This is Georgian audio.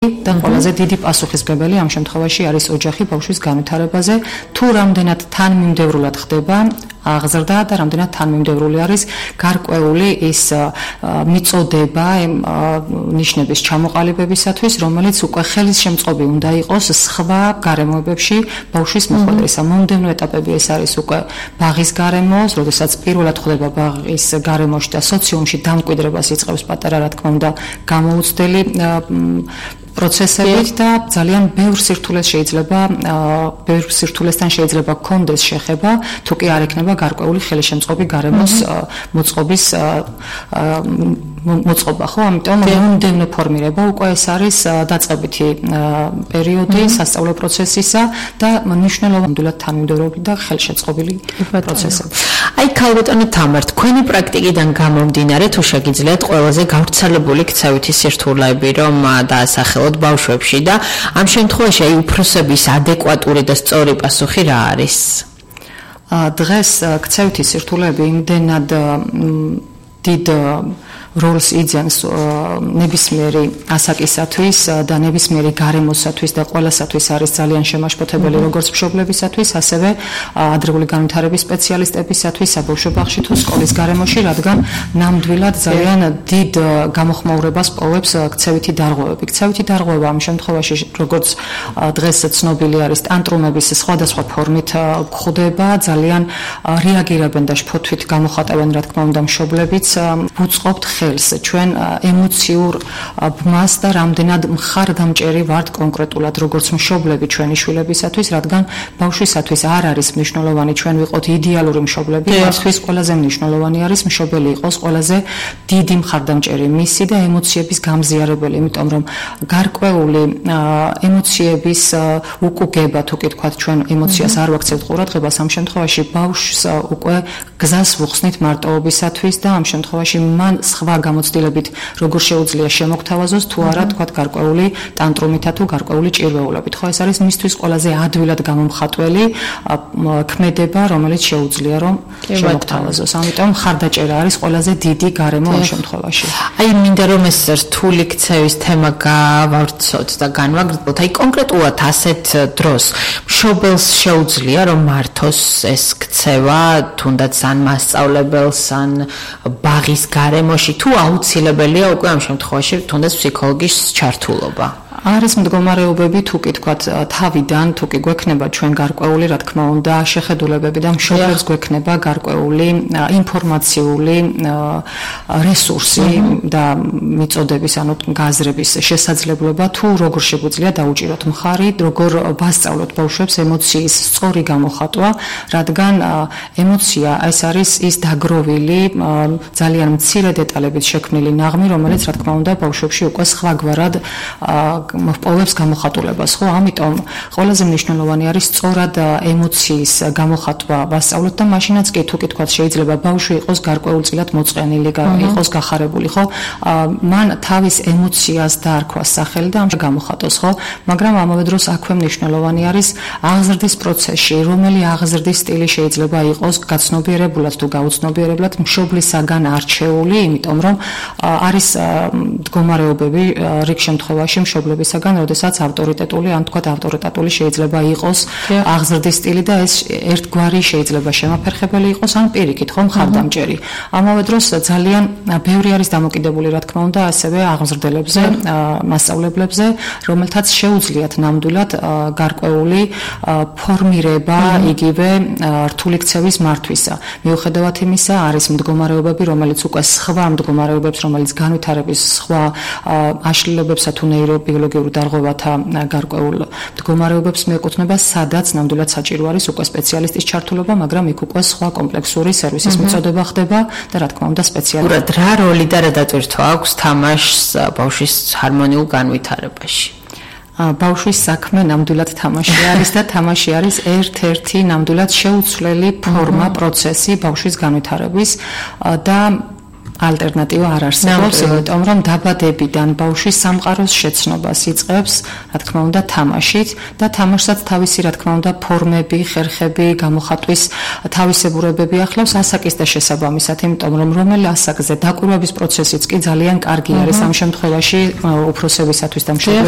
და ყველაზე დიდი პასუხისმგებელი ამ შემთხვევაში არის ოჯახი ბავშვის განვითარებაზე, თუ რამდენად თანმიმდევრულად ხდება აღზრდა და რამდენად თანმიმდევრული არის გარკვეული ის მიწოდება ნიშნების ჩამოყალიბებისათვის, რომელიც უკვე ხელისშემწყობი უნდა იყოს სხვა გარემოებებში ბავშვის მოხვედრისა. მომდევნო ეტაპები ეს არის უკვე ბაღის გარემო, როდესაც პირველად ხდება ბაღის გარემოში და სოციუმში დამკვიდრებას იწყებს პატარა, რა თქმა უნდა, გამოუცდელი პროცესებით და ძალიან ბევრ სირთულესთან შეიძლება გქონდეს შეხება, თუ კი არ ექნება გარკვეული ხელისშემწყობი გარემოს მოწყობის მოწყობა, ხო? ამიტომ მომდევნო ფორმირება უკვე ეს არის დაწყებითი პერიოდი სასწავლო პროცესისა და მნიშვნელოვნად თანმიმდევრული და ხელშეწყობილი პროცესები. აი, ქალბატონო თამარ, თქვენი პრაქტიკიდან გამომდინარე, თუ შეგიძლიათ ყველაზე გავრცელებული ქცევითი სირთულეები რომ დაასახელოთ ბავშვებში და ამ შემთხვევაში აი უფროსების ადეკვატური და სწორი პასუხი რა არის? დღეს ქცევითი სირთულეები იმდენად დიდ როლს იძენს ნებისმიერი ასაკისათვის და ნებისმიერი გარემოსათვის და ყველასათვის არის ძალიან შემაშფოთებელი როგორც მშობლებისათვის, ასევე ადრეული განვითარების სპეციალისტებისათვის საბავშვო ბაღში თუ სკოლის გარემოში, რადგან ნამდვილად ძალიან დიდ გამოხმაურებას პოვებს ქცევითი დარღვევები. ქცევითი დარღვევა ამ შემთხვევაში, როგორც დღეს ცნობილი არის, ტანტრუმების სხვადასხვა ფორმით გვხვდება, ძალიან რეაგირებენ და შფოთვით გამოხატავენ, რა თქმა უნდა, მშობლებიც ვუწყობთ ხელს ჩვენ ემოციურ ბმას და რამდენად მხარდამჭერი ვართ კონკრეტულად როგორც მშობლები ჩვენი შვილებისათვის, რადგან ბავშვისათვის არ არის მნიშვნელოვანი ჩვენ ვიყოთ იდეალური მშობლები, მისთვის ყველაზე მნიშვნელოვანი არის მშობელი იყოს ყველაზე დიდი მხარდამჭერი მისი და ემოციების გამზიარებელი, იმიტომ რომ გარკვეული ემოციების უკუგება, თუ კი თქვათ ჩვენ ემოციას არ ვაქცევთ ყურადღებას, ამ შემთხვევაში ბავშვს უკვე გზას ვუხსნით მარტოობისათვის და ამ შემთხვევაში მან სხვა გამოცდილებით როგორ შეუძლია შემოგთავაზოს თუ არა თქვათ გარკვეული ტანტრუმითა თუ გარკვეული ჭირვეულობით. ხო, ეს არის მისთვის ყველაზე ადვილად გამომხატველი ქმედება, რომელიც შეუძლია რომ შემოგთავაზოს. ამიტომ მხარდაჭერა არის ყველაზე დიდი გარემო ამ შემთხვევაში. აი, მინდა რომ ეს რთული ქცევის თემა გავავრცოთ და განვაგრძელოთ. აი, კონკრეტულად ასეთ დროს მშობელს შეუძლია რომ მართოს ეს ქცევა, თუნდაც ან მასწავლებელს, ან ბაღის გარემოში, თუ აუცილებელია უკვე ამ შემთხვევაში თუნდაც ფსიქოლოგის ჩართულობა? არის მდგომარეობები, თუ კი თქვათ თავიდან, თუ კი გვექნება ჩვენ გარკვეული, რა თქმა უნდა, შეხედულებები და მშობელს გვექნება გარკვეული ინფორმაციული რესურსი და მიწოდების, ანუ გაზრების შესაძლებლობა, თუ როგორ შეგვიძლია დაუჭიროთ მხარი, როგორ ვასწავლოთ ბავშვებს ემოციის სწორი გამოხატვა, რადგან ემოცია ეს არის ის დაგროვილი, ძალიან მცირე დეტალებით შექმნილი ნაღმი, რომელიც, რა თქმა უნდა, ბავშვებში უკვე სხვაგვარად მოპოვებს გამოხატულებას, ხო? ამიტომ ყველაზე მნიშვნელოვანი არის სწორად ემოციის გამოხატვა ვასწავლოთ და მაშინაც კი თუ კი თქვათ შეიძლება ბავშვი იყოს გარკვეულწილად მოწყენილი, იყოს გახარებული, ხო? მან თავის ემოციას დაარქვა სახელი და ამ გამოხატოს, ხო? მაგრამ ამავე დროს აქვე მნიშვნელოვანი არის აღზრდის პროცესში, რომელი აღზრდის სტილი შეიძლება იყოს გაცნობიერებულად თუ გაუცნობიერებლად მშობლისაგან არჩეული, იმიტომ რომ არის მდგომარეობები რიგ შემთხვევაში მშობლებისაგან, როდესაც ავტორიტეტული, ან თქვათ ავტორიტეტული შეიძლება იყოს აღზრდის სტილი და ეს ერთგვარი შეიძლება შემაფერხებელი იყოს, ან პირიქით, ხო, მხარდამჭერი. ამავე დროს ძალიან ბევრი არის დამოკიდებული, რა თქმა უნდა, ასევე აღზრდელებზე, მასწავლებლებზე, რომელთაც შეუძლიათ ნამდვილად გარკვეული ფორმირება იგივე რთული ქცევის მართვისა. მიუხედავად იმისა, არის მდგომარეობები, რომელიც უკვე სხვა მდგომარეობებს, რომელიც განვითარების სხვა აშლილობებსა თუ ნეირობიოლოგიურ დარღვევათა გარკვეულ მდგომარეობებს მიეკუთვნება, სადაც ნამდვილად საჭირო არის უკვე სპეციალისტის ჩართულობა, მაგრამ იქ უკვე სხვა კომპლექსური სერვისის მიწოდება ხდება და რა თქმა უნდა სპეციალისტ. რა როლი და რა დატვირთვა აქვს თამაშს ბავშვის ჰარმონიულ განვითარებაში? ბავშვის საქმე ნამდვილად თამაში არის და თამაში არის ერთ-ერთი ნამდვილად შეუცვლელი ფორმა, პროცესი ბავშვის განვითარების და ალტერნატივა არ არსებობს, იმიტომ რომ დაბადებიდან ბავშვის სამყაროს შეცნობას იწყებს, რა თქმა უნდა, თამაშით და თამაშსაც თავისი, რა თქმა უნდა, ფორმები, ხერხები, გამოხატვის თავისებურებები ახლავს ასაკის და შესაბამისად, იმიტომ რომ რომელი ასაკზე დაკვირვების პროცესიც კი ძალიან კარგი არის ამ შემთხვევაში უფროსებისათვის და მშობლებისათვის.